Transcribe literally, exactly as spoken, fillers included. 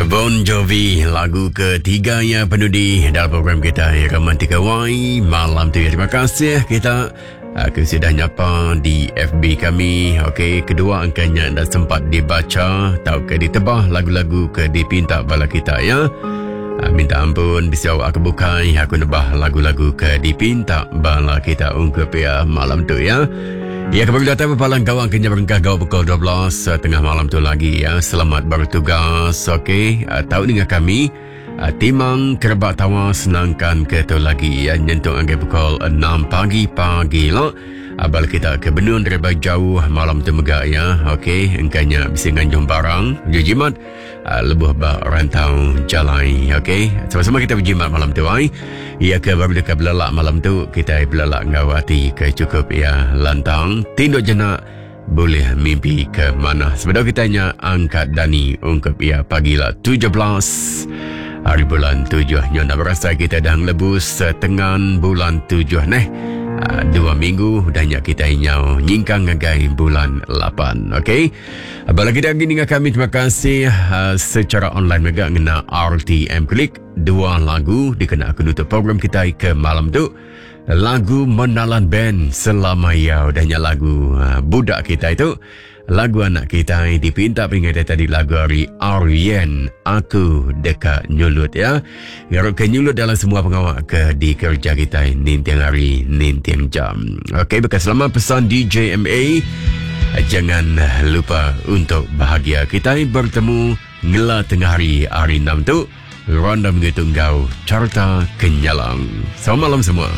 Bon Jovi, lagu ketiga ya penudi dalam program kita Romantika Y malam tu ya. Terima kasih kita aku sudah nyapa di F B kami. Okey, kedua angkanya dah sempat dibaca atau ke ditebah lagu-lagu ke dipinta bala kita ya. Minta ampun bisa aku bukai aku nebah lagu-lagu ke dipinta bala kita ungkup ya malam tu ya. Ya, kembali datang berpalang gawang kenya berengkah gawang pukul dua belas tengah malam tu lagi ya. Selamat bertugas. Okey, tahu dengan kami Timang Kerebak Tawa senangkan ke tu lagi ya, nyentuh angka pukul enam pagi pagi lah. Abal kita ke benun daripada jauh malam tu megak ya. Okey, engkanya bisa nganjung barang, jimat lebuh ba rantau jalai. Okey, sama-sama kita berjimat malam tu ai. Ya ke baru dekat belalak malam tu, kita belalak ngau hati ke cukup ya lantang. Tinduk jenak boleh mimpi ke mana. Sebenarnya kita nya angkat dani ungkap ya pagilah tujuh belas hari bulan tujuh. Nyo nak berasa kita dah ngelebus setengah bulan tujuh neh. Dua minggu dah nyak kita nyau nyingkang ngagai bulan lapan. Okey. Bala kita lagi dengan kami, terima kasih uh, secara online juga ngena R T M Klik. Dua lagu dikena aku nutup program kita ke malam tu. Lagu Menalan Band Selama Ya, dah nyak lagu uh, budak kita itu. Lagu anak kita dipinta peringatan tadi lagu hari Aryan Aku Dekat Nyulut ya. Ngarap ke nyulut dalam semua pengawak ke di kerja kita nintiang hari nintiang jam. Okey, bekas selama pesan D J M A, jangan lupa untuk bahagia. Kita bertemu ngela tengah hari hari enam tu. Ronda minggu tunggau carta kenyalang. Selamat malam semua.